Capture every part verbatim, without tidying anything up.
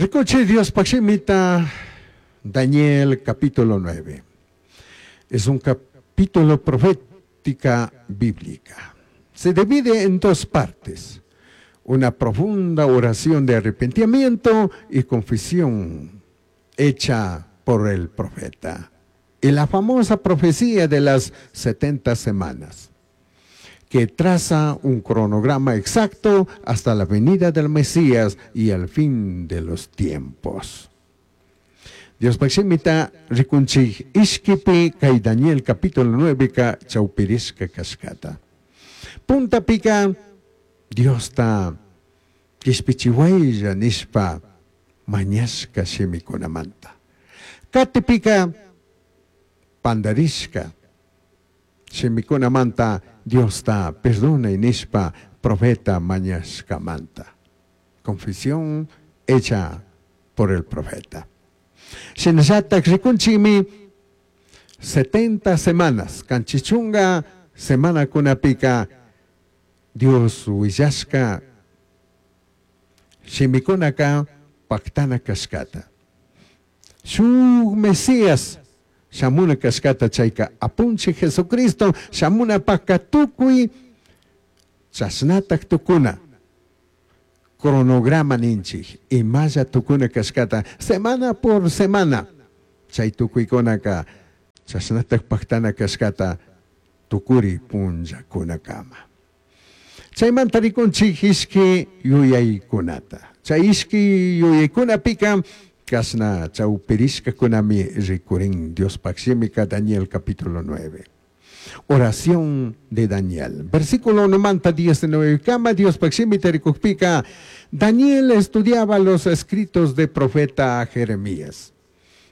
Ricuchi Diospaj shimita, Daniel capítulo nueve. Es un capítulo profética bíblica. Se divide en dos partes. Una profunda oración de arrepentimiento y confesión hecha por el profeta. Y la famosa profecía de las setenta semanas, que traza un cronograma exacto hasta la venida del Mesías y el fin de los tiempos. Diospaj shimita ricunchij ishquipi cai Daniel capítulo nueve ka chaupirishka kashkata. Puntapika Diosta kishpichihuaylla nishpa mañashka shimikunamanta. Katipika pandarishka shimikunamanta Diosta perdonay nishpa profeta mañashkamanta. Confesión hecha por el profeta. Shinallatak rikunchikmi setenta semanas, kanchichunga semana kunapika Dios willashka shimikunaka paktana kashkata. Shuk Mesías shamuna kashkata chayka apunchi Jesucristo shamuna paka tukuy chashnatak tukuna. Cronograma ninchik imalla tukuna kashkata semana por semana chay tukuykunaka chashnatak paktana kashkata tukuri punllakunakama. Chaymanta rikunchik ishki yuyaykunata. Chay ishki yuyaykunapika kashna chawpirishkakunami rikurin Diospaj shimika Daniel capítulo nueve. Oración de Daniel. Versículo uno diecinueve kama Diospaj shimita rikukpika Daniel estudiaba los escritos de profeta Jeremías.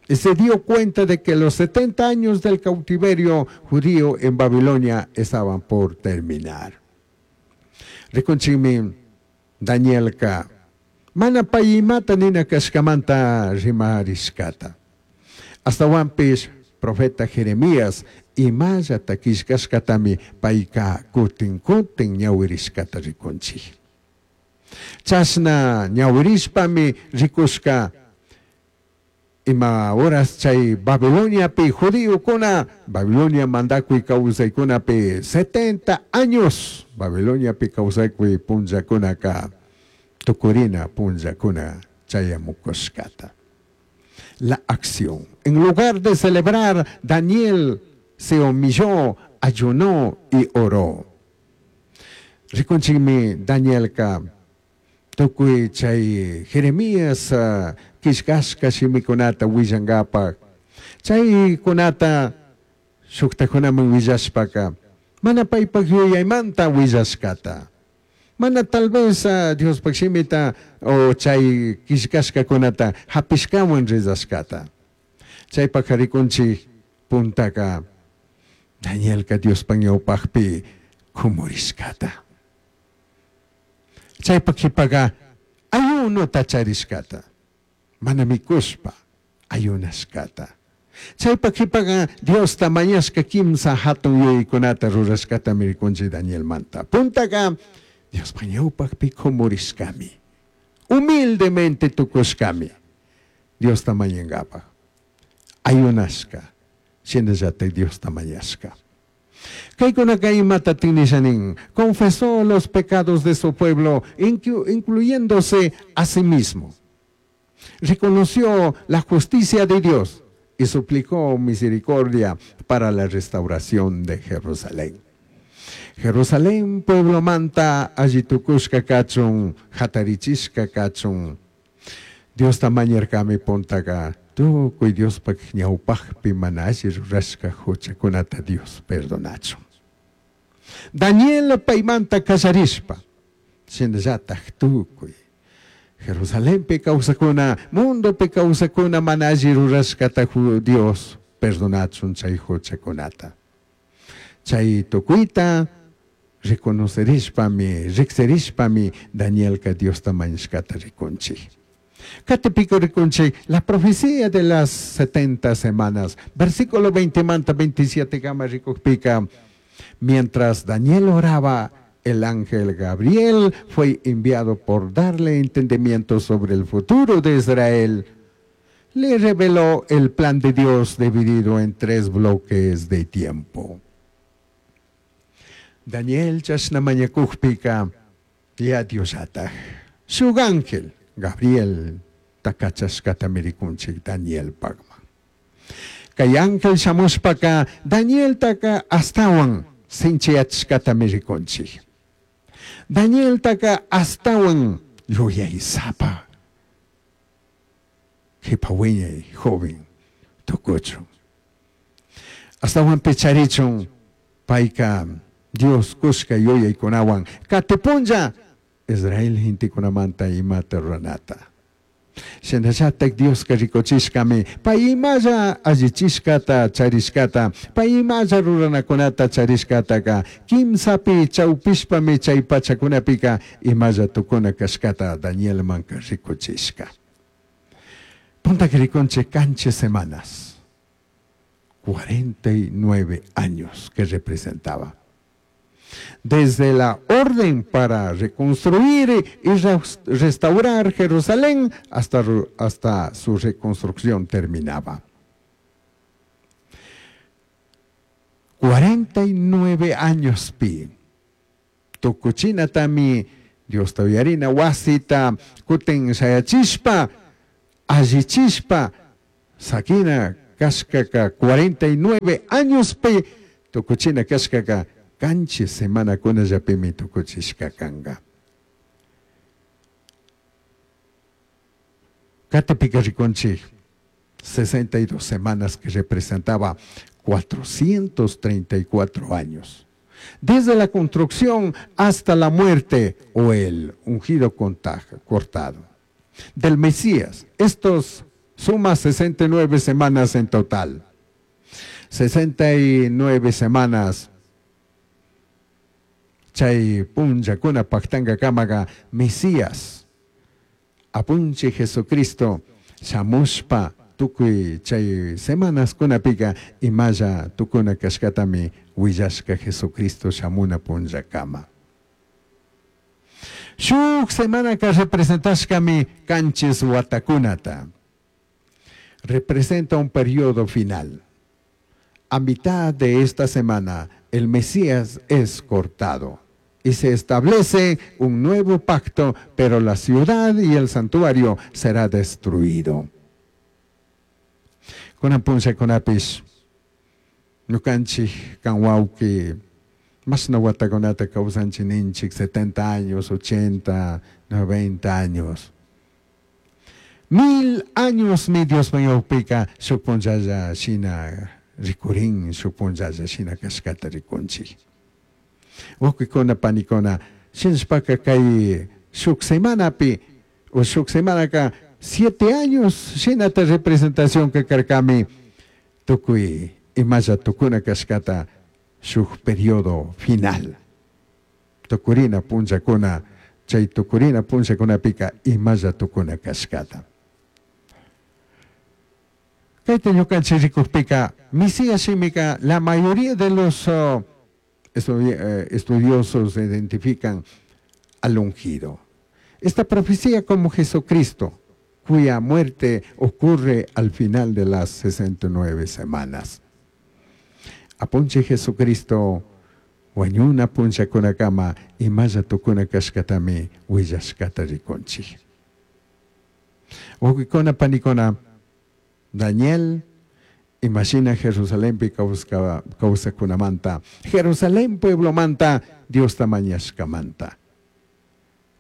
Y se dio cuenta de que los setenta años del cautiverio judío en Babilonia estaban por terminar. Rikunchikmi Danielka mana payimata nina kashkamanta rimarishkata. Astawanpish profeta Jeremías imallata killkashkatami payka kutin kutin ñawirishkata rikunchik. Chashna ñawirishpami rikushka ima horas chay Babiloniapi judíokuna Babilonia mandakuy kawsaykunapi setenta años Babiloniapi kawsaykuy punllakunaka tukurina punllakuna chayamukushkata. La acción. En lugar de celebrar, Daniel se humilló, ayunó y oró. Rikunchikmi Danielka tukuy chay Jeremías uh, killkashka shimikunata willankapak. Chaykunata shuktakunaman willashpaka mana paypak yuyaymanta willashkata. Mana tal vez uh, Diospaj shimita o chay killkashkakunata hapishkawan rizashkata. Chaypak rikunchik puntaka Danielka Diospaj ñawpajpi kumurishkata. Chaypak qhipaka ayunota charishkata. Mana mikushpa ayunashkata. Chaypak qhipaka Diosta mañashka kimsa hatun yuyaykunata rurashkata rikunchik Danielmanta. Puntaka Diospaj ñawpajpi kumurishkami. Humildemente tukushkami. Diosta mañankapaj. Ayunashka. Shinallatak Diosta mañashka. Kaykunaka imata tinishanin confesó los pecados de su pueblo, incluyéndose a sí mismo. Reconoció la justicia de Dios y suplicó misericordia para la restauración de Jerusalén. Jerusalén, pueblo manta, allitukushka kachun, hatarichishka kachun. Diosta mañarkami puntaka, tukuy Diospaj ñawpajpi mana alli rurashka huchakunata Dios perdonachun. Daniel paymanta kallarishpa, shinallataj tukuy Jerusalenpi kawsakuna, mundopi kawsakuna mana alli rurashkata Dios perdonachun chay huchakunata. Chay tukuyta reconocerishpami, riqsirishpami Danielka Diosta mañashkata rikunchik. Katipika rikunchik la profecía de las setenta semanas, versículo veinte manta veintisiete kama rikukpika, mientras Daniel oraba, El ángel Gabriel fue enviado por darle entendimiento sobre el futuro de Israel. Le reveló el plan de Dios dividido en tres bloques de tiempo. Daniel chashna mañakujpika ya Diosllataj shuk ángel Gabriel takachashkatami rikunchik Daniel pagman. Kay ángel shamushpaka Danieltaka astawan sinchiyachishkatami rikunchik. Danieltaka astawan yuyaysapa jipa wiñay joven tukuchun. Astawan picharichun payka Dios kushka yuyaykunawan katipunlla Israel gentekunamanta imata ruranata. Shinallatak Dioska rikuchishkami pay imalla allichishkata charishkata, pay imalla ruranakunata charishkataka kimsapi chawpishpami chay pachakunapika imalla tukuna kashkata Danielmanka rikuchishka. Puntaka rikunchik kanchis semanas, cuarenta y nueve años que representaba. Desde la orden para reconstruir y restaurar Jerusalén hasta, hasta su reconstrucción terminaba. cuarenta y nueve años pi. Tukuchina tami Dios tawiyarina wasita kutin shayachishpa, allichishpa, sakina kashkaka cuarenta y nueve años pi, tukuchina kashkaka kanchis semana kunallapimi tukuchishka kanga. Katipika rikunchik sesenta y dos semanas que representaba cuatrocientos treinta y cuatro años. Desde la construcción hasta la muerte o el ungido cortado del Mesías. Estos suma sesenta y nueve semanas en total. sesenta y nueve semanas. Chay punllakuna paktanga kamaga Mesías apunchi Jesucristo shamushpa tukuy chay semanas kunapika imalla tukuna kashkatami willashka Jesucristo shamuna punllakama. Shuk semanaka representashkami kanchis watakunata. Representa un periodo final. A mitad de esta semana, el Mesías es cortado y se establece un nuevo pacto, pero la ciudad y el santuario será destruido. Kunan punlla kunapish, ñukanchik kan wawki, mashna watakunata kawsanchik ninchik, setenta años, ochenta, noventa años. Mil años mi Dios mañawpika shuk punllalla shina rikurin, shuk punllalla shina kashkata rikunchik. Wawkikuna panikuna, shinashpaka kay shuk semanapi, o shuk semanaka siete años shinata representación que karkami tukuy imalla tukuna kashkata shuk periodo final. Tukurina punllakuna, chay tukurina punllakunapika imalla tukuna kashkata. Kayta ñukanchik rikukpika, Mesías shimika, la mayoría de los uh, estudiosos identifican al ungido. Esta profecía como Jesucristo, cuya muerte ocurre al final de las sesenta y nueve semanas. Apunche Jesucristo, wañuna punllakunakama, imalla tukuna kashkatami willashkata rikunchik. Wawqikuna panikuna, Daniel, imagina Jerusalenpi kawsakunamanta, Jerusalén pueblomanta, Dios tamañashkamanta.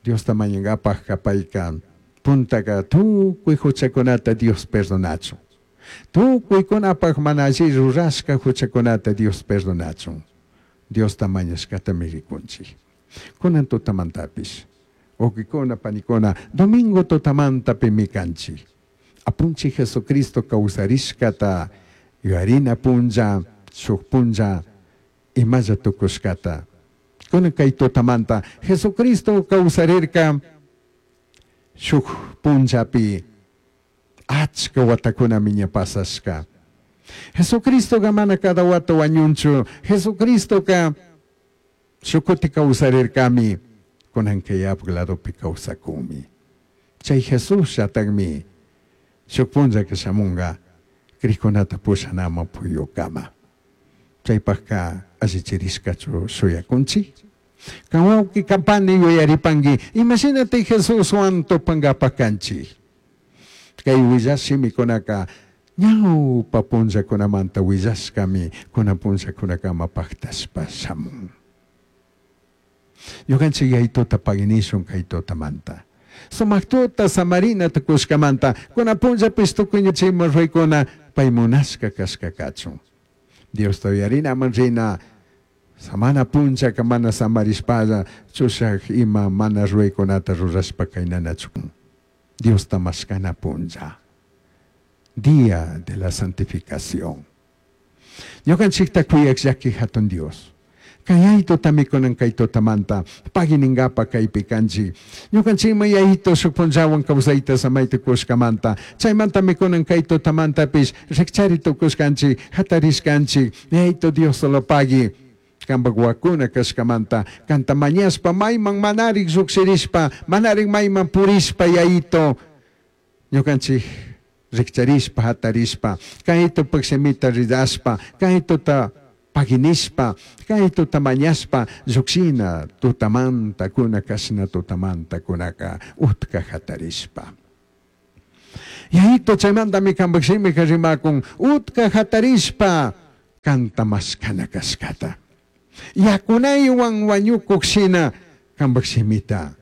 Dios tamañangapaj kapayka, puntaka tukuy huchakunata Dios perdonachun. Tukuykunapaj mana alli rurashka huchakunata Dios perdonachun. Dios tamañashkatami rikunchik. Kunan tutamantapish, wawqikuna panikuna, domingo tutamantapimi kanchik. Apunchi Jesucristo kawsarishkata, yuyarina punlla, shuk punlla, imalla tukushkata. Kunan kay tutamanta, Jesucristo kawsarirka, shuk punllapi, achka watakunami ña pasashka. Jesucristoka mana cada wata wañunchu. Jesucristoka Shukuti kawsarirkami, kunanka Yayapak ladopi kawsakunmi. Chay Jesus llatakmi shuk punllaka shamunka crikkunata pushanaman puyukama. Chaypakka allichirishkachu shuyakunchik? Kan wawqi kampani yuyaripanki, imashinati Jesuswan tupankapak kanchik? Kay willash shimikunaka ñawpa punllakunamanta willashkami kunan punllakunakama paktashpa shamun. Ñukanchik yaytuta paginishun kay tutamanta. Sumak tuta samarina tukushkamanta kunan punllapis tukuy ñuchikman ruykuna pay munashka kashka kachun. Diosta uyarinaman rina samana punllaka mana samarishpalla chushak ima mana ruraykunata rurashpa kaynanachu. Diosta mashkana punlla. Día de la santificación. Ñukanchikta kuyak llaki hatun Dios. Kay tutami kunan kay tutamanta paginingapa kaypi kanchik. Ñukanchikman yayito shuk punllawan kawsayta samayta kushkamanta. Chaymantami kunan kay tutamantapish rikchari tukushkanchik, hatarishkanchik. Yayito Dios solo pagui. Kampak wakuna kashkamanta kanta mañashpa mayman manarik llukshirishpa manarik mayman purishpa yayito ñukanchik rikcharishpa hatarishpa kaytupak shimita ridashpa kaytuta paginishpa kaytuta mañashpa llukshina tutamanta kuna kashna tutamanta kunaka utka hatarishpa. Yayito chaymantami kampak shimika rimakun utka hatarishpa kanta mashkana kashkata. Yakunaywan wañukuk shina kampak shimita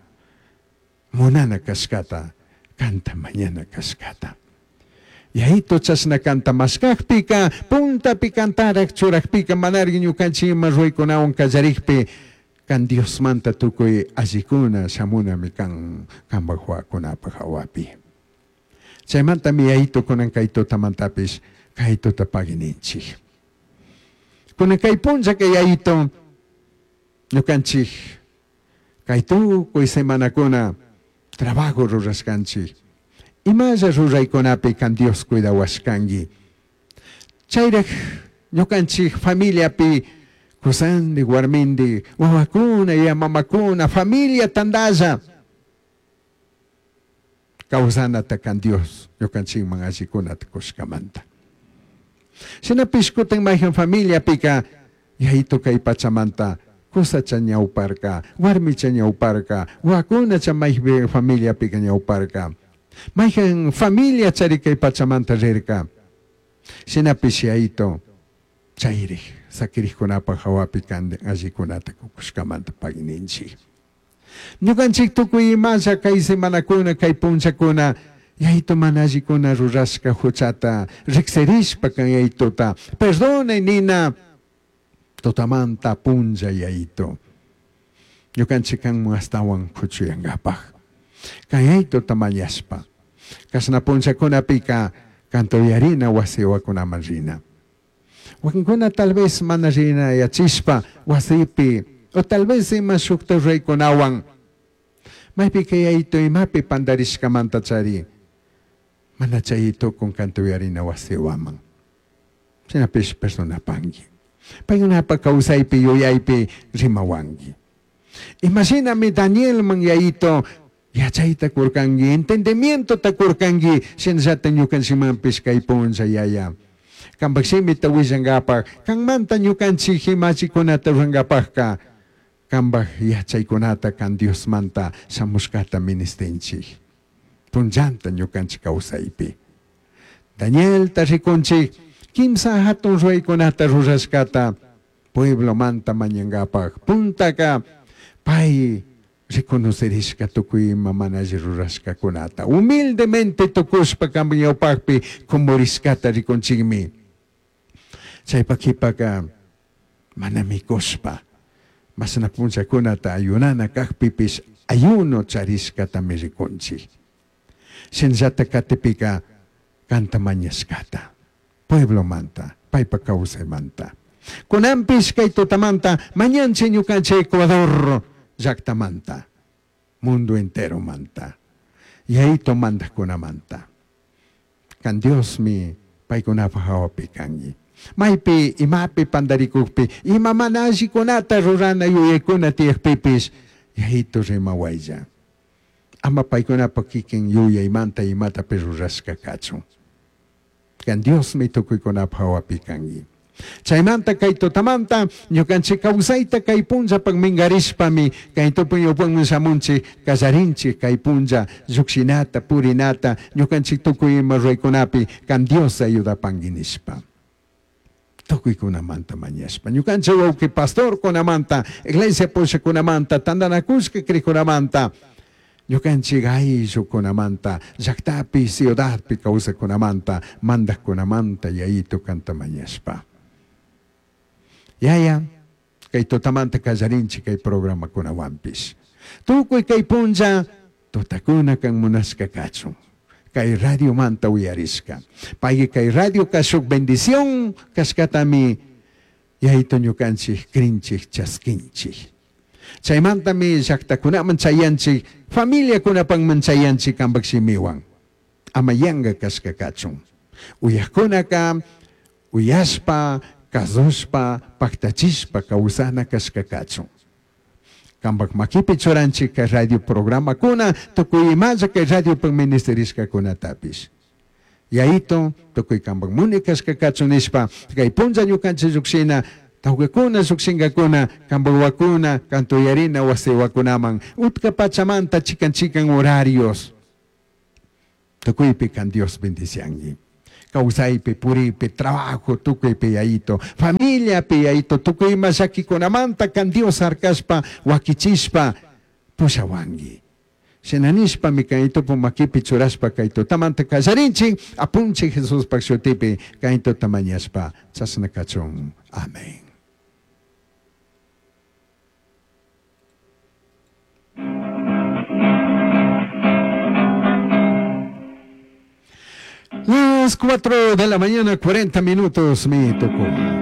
munana kashkata kanta mañana kashkata. Yayito chashna kanta mashkakpika puntapi kantarak churakpika manarik ñukanchik ima ruraykunawan kallarikpi kan Diosmanta tukuy allikuna shamunami kan kampak wawakunapak hawapi. Chaymantami yayito kunan kay tutamantapish kay tuta pagininchik. Kunan kay punllaka yayito ñukanchik kay tukuy semanakuna trabajo rurashkanchik. Imalla ruraykunapi kan Dios cuidawashkanki. Chayrak ñukanchik familiapi kusandi warmindi wawakuna ya mamakuna familia tandalla kawsanata kan Dios ñukanchikman allikunata kushkamanta. Shinapish kutin mayhan familiapika yayito kay pachamanta kusacha ñawparka, warmicha ñawparka, wawakunacha maypi familiapika ñawparka. Mayhan familia chari kay pachamanta rirka. Shinapish yayito chayrik sakirikkunapaq hawapi kan allikunata kukushkamanta pagininchik. Ñukanchik tukuy imalla kay semanakuna kay punllakuna yayito mana allikuna rurashka huchata riksirishpa kan yayituta perdonay nina tutamanta punlla yayito. Ñukanchik kanman astawan kuchuyankapaq. Kan yayituta mañashpa. Kashna punllakunapika kanta uyarina wasi wawakunaman rina. Wakinkuna tal vez mana rina yachishpa wasipi o tal vez ima shukta ruraykunawan maypika yayito imapi pandarishkamanta chari mana chay tukun kanta uyarina wasi waman. Shinapish perdonapanki. Paykunapa kawsaypi yuyaypi rimawanki. Imashinami Danielman yayito yachayta kurkanki, entendimientota kurkanki, shinallata ñukanchikmanpish kay punlla yaya. Kampak shimita willankapaq, kanmanta ñukanchik imachikunata rurankapaqka, kampak yachaykunata kan Diosmanta shamushkata ministinchik. Punllanta ñukanchik kawsaypi. Danielta rikunchik, kimsa hatun ruraykunata rurashkata pueblomanta mañankapaq. Puntaka pay reconocerishka tukuy ima mana alli rurashkakunata. Humildemente tukushpa kampak ñawpakpi kumurishkata rikunchikmi. Chaypak kipaka mana mikushpa mashna punllakunata ayunana kakpipish ayuno charishkatami rikunchik. Shinallata katipika kanta mañashkata pueblomanta paypa kawsaymanta. Kunanpish kay tutamanta mañanchik ñukanchik Ecuador llaktamanta, mundo enteromanta, yayito mandajkunamanta. Kan Diosmi paykunapaq hawapi kanki. Maypi imapi pandarikukpi, ima mana allikunata rurana yuyaykuna tiyakpipis, Yayitu rimawaylla. Ama paykunapa kikin yuyaymanta imatapi rurashka kachun. Kan Diosmi tukuykunapa hawapi kanki. Chaymanta kay tutamanta ñukanchik kawsayta kay punllapak minkarishpami kay tupuy ñawpaman shamunchik kallarinchik kay punlla llukshinata purinata ñukanchik tukuy ima ruraykunapi kan Dios ayudapanki nishpa. Tukuykunamanta mañashpa ñukanchik wawqi pastorkunamanta iglesia pushakunamanta tantanakushka krikunamanta ñukanchik ayllukunamanta llaktapi ciudadpi kawsakunamanta mandaqkunamanta Yayitu kanta mañashpa. Yaya, kay tutamanta kallarinchik kay programakunawanpish. Tukuy kay punlla tutakuna kan munashka kachun. Kay radiomanta uyarishka. Pay kay radio kashuk bendición kashkatami Yayitu ñukanchik krinchik chaskinchik. Chaymantami llaktakunaman chayanchik, familiakunapanman chayanchik kampak shimiwan. Ama yanka kashka kachun. Uyaqkunaka uyashpa, kasushpa, paktachishpa kawsana kashka kachun. Kampak makipi churanchik kay radio programakuna, tukuy imalla kay radiopak ministerishkakunatapish. Yayitu, tukuy kampak muni kashka kachun nishpa, kay punlla ñukanchik llukshina, tawkakuna llukshinkakuna, kampawakuna, kantuyarina wasiwakunaman, utka pachamanta chikan chikan horarios. Tukuypi kan Dios bendicianki. Kawsaypi, puripi, trabajo, tukuypi Yayitu, familiapi Yayitu, tukuy ima llakikunamanta kan Dios harkashpa, wakichishpa, pushawanki. Shina nishpami kay tupu makipi churashpa kay tutamanta kallarinchik, apunchik Jesuspak shutipi kay tuta mañashpa, chashna kachun. Amén. Las cuatro de la mañana, cuarenta minutos, mi tocó.